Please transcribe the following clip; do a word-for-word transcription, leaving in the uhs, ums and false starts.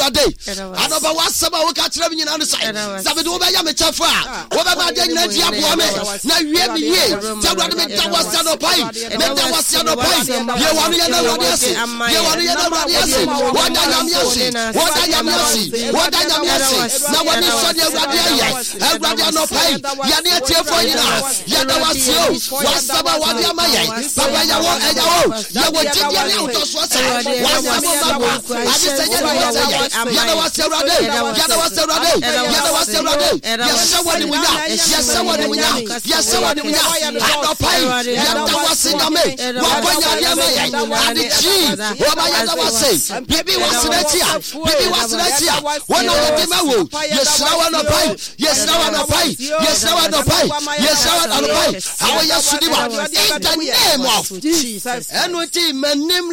Awurade, anɔpa w'asɛm a woka kyerɛ me nyinaa no sɛ, sɛ mede wobɛyɛ me kyɛfo a, wobɛma adeɛ nyinaa di aboa me na wie me yie. Nti Awurade, meda wo ase anɔpa yi, meda wo ase anɔpa yi. Bie w'ano yɛ no Awurade ase, bie w'ano yɛ no Awurade ase. Wɔda Nyame ase, wɔda Nyame ase, wɔda Nyame ase, na wɔne sɔ deɛ Awurade ayɛ. Awurade, anɔpa yi, yɛne atiefoɔ nyinaa yɛda wo ase o, w'asɛm a wɔde ama yɛn. Papa, yɛwɔ ɛyɛ o, yɛwɔ gyidie ne ahotɔsoɔ sɛ w'asɛm mma kwa, ade sɛ yɛ ne wɔ sɛ yɛ. Yɛda wo ase Awurade, yɛda wo ase Awurade, yɛda wo ase Awurade. Yɛhyɛ wɔ animuonyam, yɛhyɛ wɔ animuonyam, yɛhyɛ wɔ animuonyam. Anɔpa yi, yɛda wo ase Nyame, woakɔnya adeɛ ama yɛn ade kyii wɔma. Yɛda wo ase. Biribi wɔ ase n'akyi a, biribi wɔ ase n'akyi a, wɔn a yɛde ma wo. Yɛhyira wɔ anɔpa yi, yɛhyira wɔ anɔpa yi, yɛhyira wɔ anɔpa yi, yɛhyira wɔ anɔpa yi. Awɔ yɛ sudi ma in the name of Jesus. Ɛnu ti m'anim.